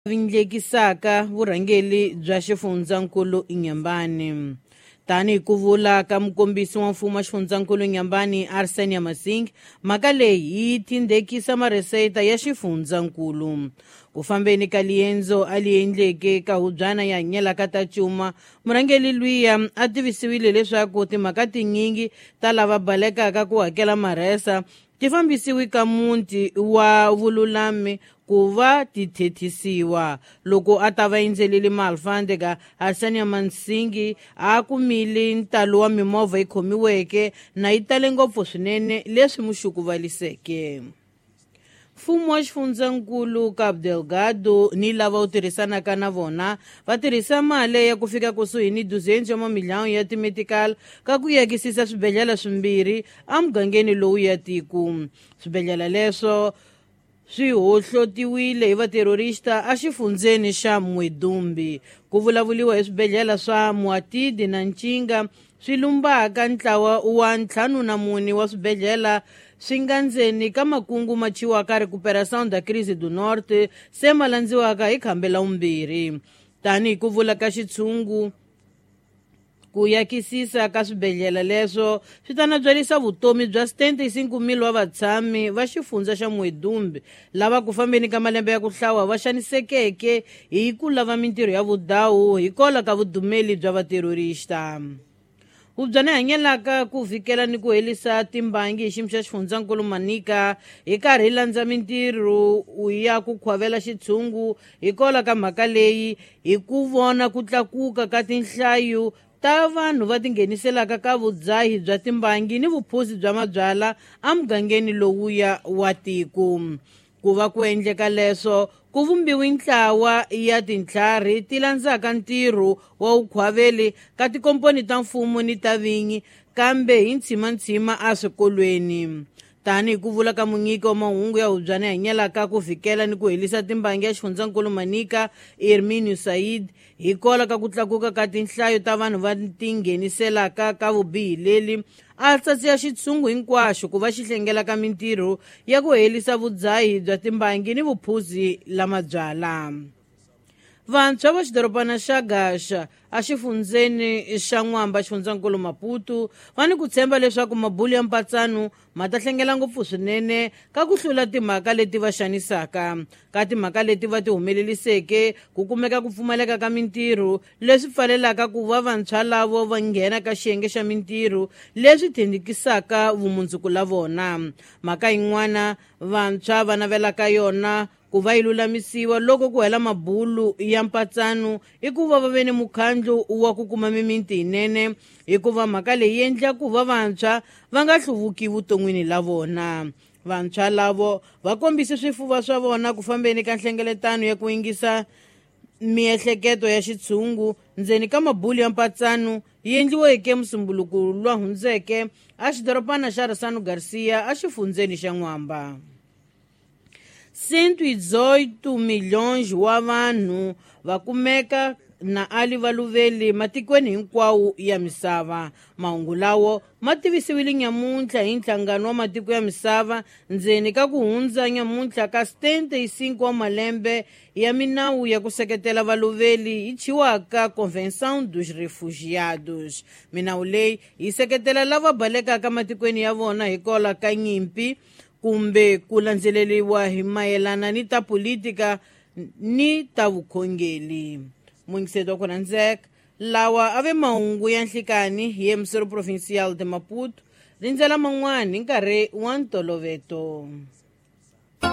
Vindlekisaka vurhangeli bya xifundzankulu Inhambane. Tanihi ku vula ka mukombisi wa mfumo wa xifundzankulu Inhambane Arsenia Masing, mhaka leyi yi tindhekisa mareseta ya xifundzankulu. Ku fambeni ka liendzo a li endleke ka hubyana ya hanyelaka ta cuma, murhangeli luya a tivisiwile leswaku timhaka tinyingi ta lava balekaka ku hakela marhesa ti fambisiwi ka muti wa vululami ku va ti thethisiwa. Loko a ta va endzelile maalfandeka, Arsenia Mansingi a kumile ntalo wa mimovha yi khomiweke na yi tale ngopfu swinene leswi muxukuvaliseke. Mfumo wa xifundzankulu Cabo Delgado ni lava wu tirhisanaka na vona va tirhisa mali ya ku fika kusuhi ni 200 wa mamiliyoni ya timetical ka ku yakisisa swibedhlele swimbirhi emugangeni lowu ya tiko. Swibedhlele leswo swi hohlotiwile hi vaterorista exifundzeni xa Muidumbe. Ku vulavuriwa hi swibedhlele swa Muatidi na Ncinga swi lumbaka ntlawa wa 54 wa swibedhlele swi nga ndzeni ka makungu ma chiwaka Recuperação da Crise do Norte se ma landziwaka hi khambe la vumbirhi. Tanihi ku vula ka xitshungu, ku yakisisa ka swibedhlele leswo swi ta nabyarisa vutomi bya 75,000 wa vatshami va xifundza xa Muidumbe lava ku fambeni ka malembe ya ku hlawa va xanisekeke hi ku lava mintirho ya vudawu hikwalaho ka vudumeli bya vaterorista. Hubyana hanyelaka ku vhikela ni ku helisa timbangi hi xiyimo xa xifundzankulu Manica hi karhi hi landza mintirho ya ku khwavela xitshungu hikwalaho ka mhaka leyi hi ku vona ku tlakuka ka tinhlayo ta vanhu va tingheniselaka ka vudzahi bya timbangi ni vuphuzi bya mabyala emugangeni lowuya wa tiko. Ku va ku endleka leswo ku vumbiwe ntlawa ya tintlhari ti landzaka ntirho wa vukhwaveli ka tikomponi ta mfumo ni ta vinyi kambe hi ntshimantshima eswikolweni. Tanihi ku vula ka munyiki wa mahungu ya hubyana hanyelaka ku vhikela ni ku helisa timbangi ya xifundzankulu Manica Herminio Said, hikwalaho ka ku tlakuka ka tinhlayo ta vanhu va tingheniselaka ka vubihi leli a tsatsiya xitshungu hinkwaxo ku va xi hlengela ka mintirho ya ku helisa vudzahi bya timbangi ni vuphuzi la mabyala. Vantshwa va xidorobana xa Gaxa exifundzeni xa N'wamba xifundzankulu Maputo va ni ku tshemba leswaku mabulu ya mpatsano ma ta hlengela ngopfu swinene ka ku hlula timhaka leti va xanisaka. Ka timhaka leti va ti humeleliseke ku kumeka ku pfumaleka ka mintirho leswi pfalelaka ku va vantshwa lavo va nghena ka xiyenge xa mintirho leswi thendikisaka vumundzuku la vona. Mhaka yin'wana vantshwa va navelaka yona ku va yi lulamisiwa loko ku hela mabulu ya mpatsano i ku va va ve ni mukhandlu wa ku kuma mimiti yinene, hikuva mhaka leyi yi endla ku va vantshwa va nga hluvuki vuton'wini la vona. Vantshwa lavo va kombise swifuva swa vona ku fambeni ka nhlengeletano ya ku yingisa miehleketo ya xitshungu ndzeni ka mabulu ya mpatsano yi endliweke musumbuluko lwa hundzeke exidorobana xa Ressano Garcia exifundzeni xa N'wamba. 118 milhões wa vanhu va kumeka na ali valuveli matikweni hinkwawo ya misava. Mahungu lawo ma tivisiwile nyamuntlha hi nhlangano wa matiko ya misava ndzeni ka ku hundza nyamuntlha ka 75 wa malembe ya minawu ya ku seketela valuveli yi chiwaka Convenção dos Refugiados. Minawu leyi yi seketela lava balekaka matikweni ya vona hikwalaho ka nyimpi kumbe ku landzeleriwa hi mayelana ni ta politika ni ta vukhongeli. Mungiseto wa ku rhandzeka lawa a ve mahungu ya nhlikani hi emissório provincial de Maputo, rindzela man'wani hi nkarhi wa ntoloveto.